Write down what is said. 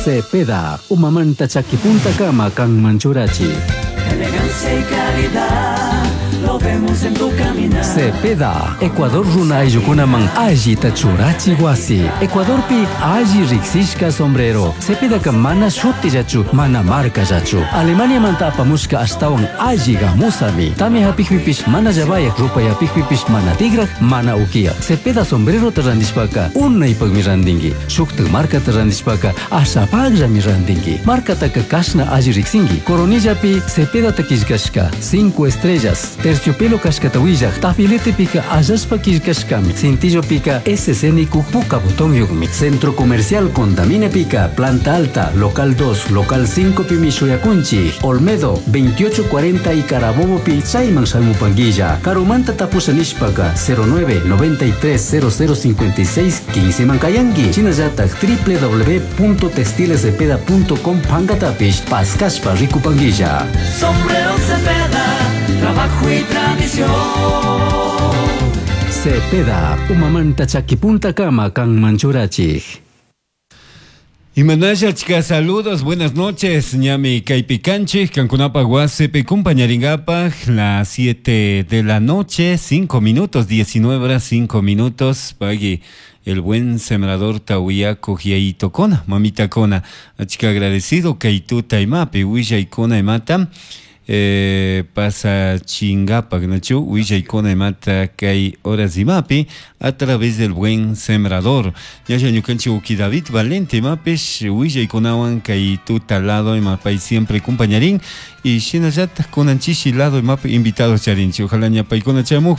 Cepeda, umamanta chakipuntakama kanman churachi. Elegancia y calidad, lo vemos en tu caminar. Cepeda, Ecuador runa ayllukunaman allita churachi wasi. Ecuadorpi alli riksishka sombrero. Cepedaka mana shutillachu, mana markallachu. Alemaniamanta apamushka ashtawan alli gamusami. Tamia hapikpipish mana llavayak, rupay hapikpipish mana tigrak, mana ukiyak. Cepeda sombrerota randishpaka unaypakmi randinki. Shuktak markata randishpaka ashapakllami randinki. Markataka kashna alli riksinki. Coronillapi Cepedata killkashka 5 estrellas. Terciopelo kashkata willak, tafiletepika allashpa killkashkami. Cintillopika SC nikuk puka botonyukmi. Centro Comercial Condaminepika, Planta Alta, Local 2, Local 5 pimi shuyakunchik. Olmedo, 2840 y Carabobo pi chayman shamupanguilla. Karumanta tapusha nishpaka 09 93 0056 15 mankayanki. Shinallatak www.textilescepeda.com pankatapish paskashpa rikupanguilla. Sombrero Cepeda, trabajo y tradición. Cepeda, umamanta chakipuntakama kanman churachik. Imanasha chika saludos, buenas noches, ñami kaypi kanchik, kankunapaj wasipi kumpañaringapaj, las 7 de la noche, 5 minutos, 19 horas 5 minutos, pagui el buen sembrador tawiaco hiaito kona, mamita kona, achika agradecido kaytuta imapi, willaykuna imata, pasa chingapak, nachu, willaykuna imata kay horas imapi, a través del buen sembrador. Ñalla ñukanchik uki David Valente imapish, willaykunawan kay tuta lado imapay siempre kumpañarin, y shinallatak kunanchishi lado imapi invitados charinchik, ojalá ñapaykuna chamuj.